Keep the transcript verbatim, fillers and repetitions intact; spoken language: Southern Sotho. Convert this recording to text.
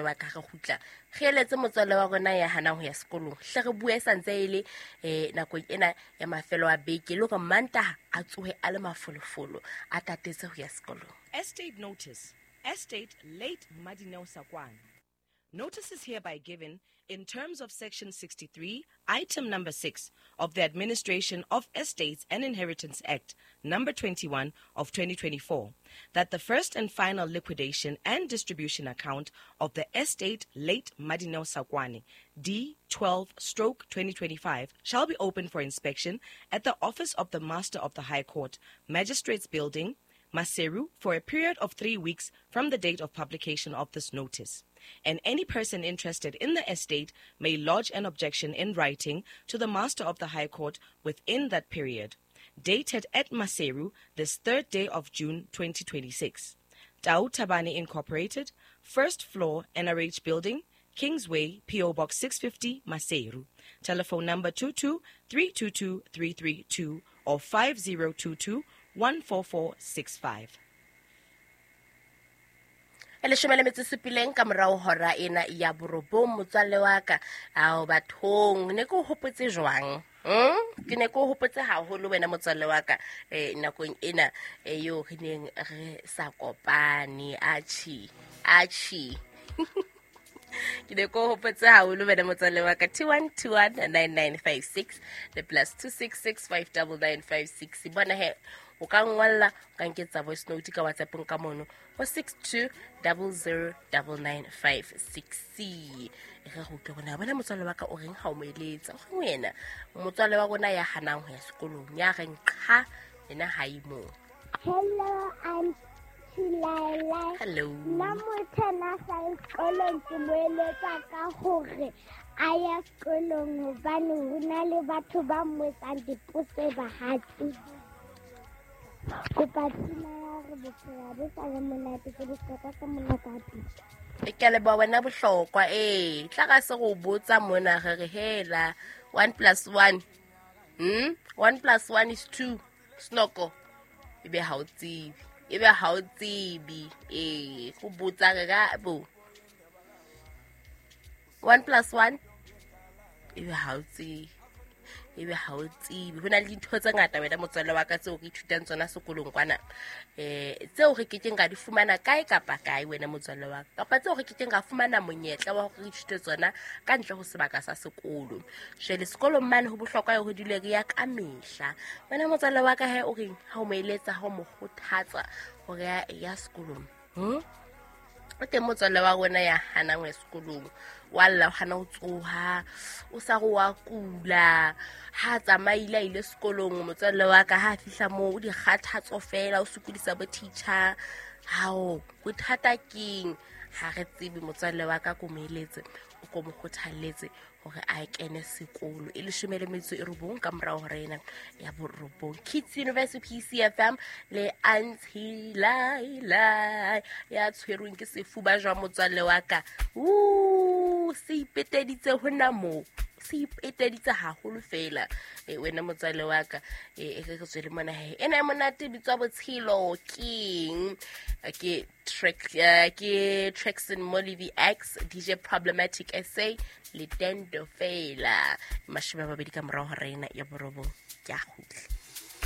Wa ka re kgutla re eletse motswalle wa rona ya hanang ho ya sekolong, hle re bue santse e le um nakong ena ya mafelo a beke, le hore Mantaha a tsohe a le mafolofolo, a tatetse ho ya sekolong. Estate notice. Estate late Madineo Sakwane. Notice is hereby given in terms of Section sixty-three, Item number six of the Administration of Estates and Inheritance Act, number twenty-one of twenty twenty-four, that the first and final liquidation and distribution account of the estate late Madineo Sakwane, D twelve stroke twenty twenty-five, shall be open for inspection at the office of the Master of the High Court, Magistrates Building, Maseru, for a period of three weeks from the date of publication of this notice. And any person interested in the estate may lodge an objection in writing to the Master of the High Court within that period. Dated at Maseru, this third day of June twenty twenty-six. Tau Tabane Incorporated, first floor, N R H Building, Kingsway, P O Box six fifty, Maseru. Telephone number two two three two two three three two or five zero two two one four four six five. E leshome le metso e supileng ka morao hora ena ya borobong, motswalle wa ka. Ao bathong, ne ke o hopotse jwang? Hmm? Ke ne ke o hopotse haholo wena motswalle wa ka, eh, nakong ena, eh, eo re neng re sa kopane. Atjhe, atjhe. Ke ne ke o hopotse haholo wena motswalle wa ka. two one two one nine nine five six le plus two six six five double nine five six. Bona he, o ka ngwalla, o ka nketsa voice note ka WhatsApp-ong ka mono ho six two double zero double nine five six. E re go utlwe rona, bona motswalle wa ka o reng ha o mo eletsa? O reng wena? Motswalle wa rona ya hanang ho ya sekolong, ya reng qha, yena ha e moo. Hello, I'm Laila. Hello. Nna motho ena a sa ye sekolong ke mo eletsa ka hore a ye sekolong hobane ho na le batho ba mo etsang dipotso ba ha tsebe. Kopa pina ya hore bophelo bo sa le monate, ke bohlokwa ka monate wa pina. E ke a leboha wena bohlokwa, ee. Tla ka se go botsa mona re re hela one plus one. Hmm? one plus one is two. Snoko. Ebe ha o tsebe. Ebe ha o tsebe. Ee, go botsa re ka bo. one plus one. Ebe ha o tsebe. Ebe ha o tsebe. Ho na le dintho tse ngata wena motswalle wa ka tseo re ithutang tsona sekolong kwana. Eh, tseo re kekeng ra di fumana kae kapa kae wena motswalle wa ka. Kapa tseo re kekeng ra fumana monyetla wa hore re ithute tsona ka ntle ho sebaka sa sekolo. Jwale sekolong mane ho bohlokwa hore dule re ya ka mehla. Wena motswalle wa ka he o reng ha o mo eletsa, ha o mo kgothatsa hore ya, ya sekolong? Hmm? O teng motswalle wa rona ya hanang ho ya sekolong. Wa lla, o hana ho tsoha, o sa re wa kula. Ha a tsamaile a ile sekolong, motswalle wa ka ha a fihla moo, o dikgathatso fela, o sokodisa bo teacher. Hao, bothata keng? Ha re tsebe motswalle wa ka, ko mo eletse, o ko mo kgothalletse hore a kene sekolo. E leshome le metso e robong ka morao hora ena ya borobong. Kids University P C F M le Auntie Laila ya tshwerweng ke sefuba jwa motswalle wa ka. Ooh, se ipeteditse hona moo. Se ipeteditse haholo fela. E, wena motswalle wa ka, e, e re re tswele mona he. Ena e monate e bitswa Botshelo Keng. Ke track, eh, ke Traxon Molivi X, D J Problematic S A le Dendo fela. Mashome a mabedi ka morao hora ena ya borobong. Ke a kgutla.